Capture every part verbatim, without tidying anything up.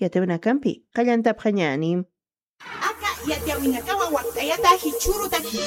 yatawinakampi qallantapxañäni. Aka yatiyawinakawa wakt'ayata jichhürutaki.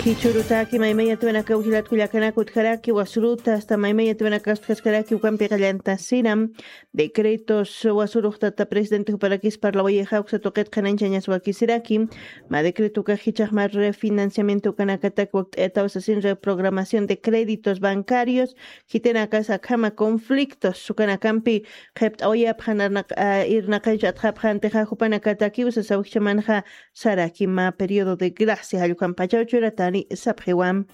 Jichhürutaki maymay yatawinakaw jilatkullakanaka utjaraki wasuruta hasta maymay yatawinakaw utjaskaraki ukampi qallantasiram. Decretos wasurux tata presidente juparakis parlawayixa uksa tuqit qhanañchañas wakisiraki. Ma decreto ukax jichhax ma refinanciamiento ukanakatak wakt'ayataw sasin reprogramación de créditos bancarios. Jitinakas akhama conflictos sukanakampi qhipt'awayapxan irnaqancha atxapxantixa jupanakatakiw sasaw jichhamanxa saraki ma periodo de gracia jallukhampachaw churatani sapxiwam.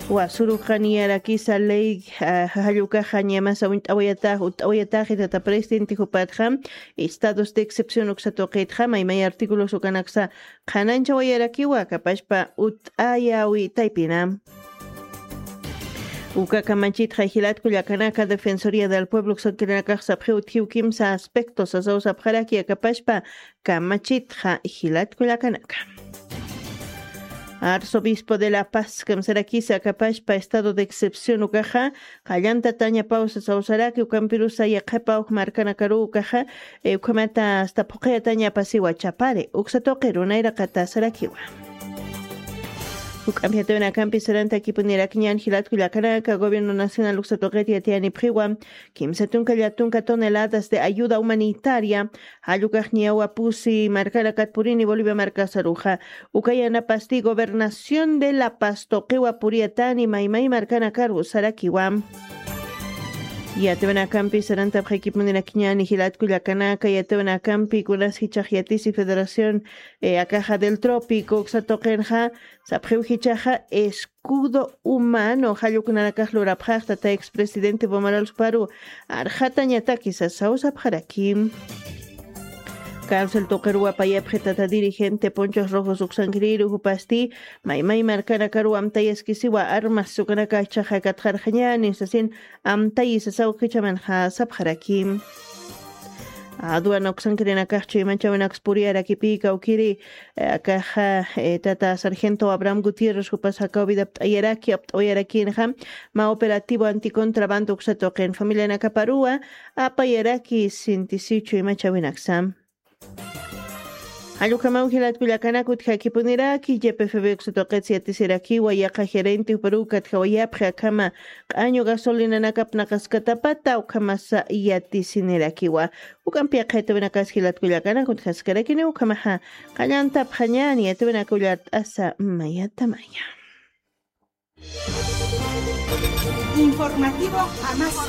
Wasuruxa niyarakisa ley jallukaxa ñamasa uñt'awayatax utt'awayataxi tata presidente jupatxa estados de excepción uksa tuqitxa maymay artículos ukanaksa qhanañchawayarakiwa kapachpa utt'ayawi taypina. Uka kamachitxa jilatku llakanaka defensoría del pueblo uksankirinakax sapxiw utjiw kimsa aspecto sasaw sapxaraki akapachpa kamachitxa jilatku llakanaka. Arzobispo de la paz kamsarakisa akapachpa estado de excepción ukaxa qallantatañapaw sasaw saraki ukampirusa yaqhipaw markanakaruw ukaxa ukhamata hasta phuqhiyatañapasiwa chapari uksa tuqiru nayraqata sarakiwa. Juk'ampi yatawinakampi sarantakipunirakiñan jilatku llakanaka gobierno nacional uksa tuqit yatiyanipxiwa kimsa tunka llatunka toneladas de ayuda humanitaria jallukaxniyawa pusi markanakat purini bolivia markasaruxa ukayanapasti gobernación de la paz tuqiwa puriyatani maymay markanakaru sarakiwa. Yatawinakampi sarantapxakipunirakiñani jilatku llakanaka yatawinakampi kunas jichhax yatisi federación akaxa del trópico uksa tuqinxa sapxiw jichhaxa escudo humano jalluknanakax lurapxaxta ta expresidente bomaral juparu arxatañataki sasaw sapxaraki. Cárcel tuqiruwa payapxi tata dirigente ponchos rojos uksankiriru jupasti maymay markanakaruwa amtayaskisiwa armas ukanaka jichhaxa katxarxañani sasin amtayi sasaw jichhamanxa sapxaraki. Aduana uksankirinakax chuymachawinaks puriyarakipï kawkiri akaxa tata sargento abraham gutierrez jupas jakaw vida apt'ayaraki apt'awayarakinxa ma operativo anticontrabando uksa tuqin familianakaparuwa apayaraki sintisiw chuymachawinaksa. Jallukamaw jilatku llakanaka utjakipuniraki ypfb uksa tuqits yatisirakiwa yaqa gerente juparuw katjawayapxi akhama q'añu gasolinanaka apnaqaskatapata ukhamasa yatisinirakiwa. Uk'ampi yaqha yatawinakas jilatku llakanaka utjaskarakini ukhamaxa qallantapxañani yatawinaka ullart'asa mayatamaya. Informativo Amasa.